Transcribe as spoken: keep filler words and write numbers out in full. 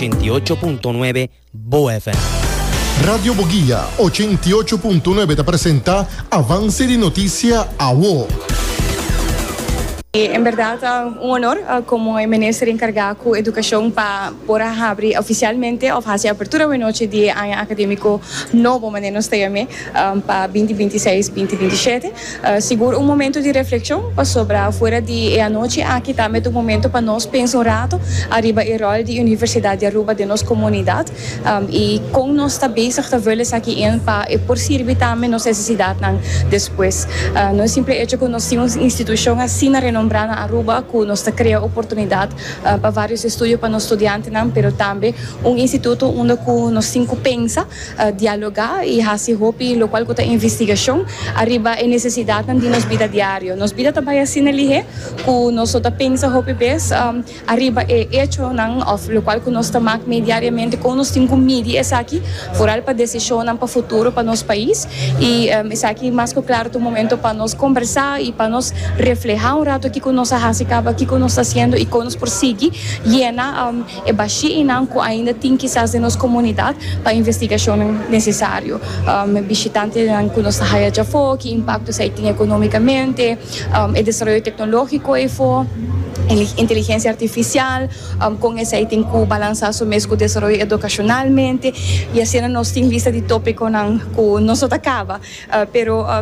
ochenta i ocho punto nuebe Bo F M. Radio Boguia ochenta i ocho punto nuebe ta presenta Avance di Noticia Awo. En berdad, un honor como minister encarga cu educacion pa por habri oficialmente of haci apertura anochi di aña academico nobo, manera nos ta yam'e, pa dos mil bintiseis-dos mil bintisiete. Uh, sigur un momento di reflexion pa sobre fuera di anochi aki tambe un momento pa nos pensa un rato ariba e rol di Universidad di Aruba den nos comunidad um, y con nos ta bezig ta vul esaki in pa e por sirbi tambe nos necesidad despues. Uh, no simpel hecho cu nos tin un institucion asina renombra na Aruba cu nos ta crea oportunidad uh, pa varios estudio pa nos studiantenan, pero tambe un instituto unda cu nos tin cu pensa, uh, dialoga y haci hopi locual cu ta investigacion ariba e necesidad di nos bida diario. Nos bida tambe asina lihe cu nos ta pensa hopi bes um, ariba e hechonan of locual cu nos ta maak diariamente, con nos tin cu midi esaki vooral pa decision pa futuro pa nos pais y um, esaki mas cu claro un momento pa nos combersa y pa nos refleha un rato kico nos a haci caba, kico nos ta haciendo y con nos por sigui yena um, e bashinan cu ainda tin kisas den nos comunidad pa investigacion necesario. Um, bishitantenan cu nos haya afo, ki impacto esey tin economicamente, um, e desaroyo tecnologico y fo inteligencia artificial, um, con esey tin cu balansa su mes cu desaroyo educacionalmente y asina nos tin lista di topiconan cu no ta caba, uh, pero um,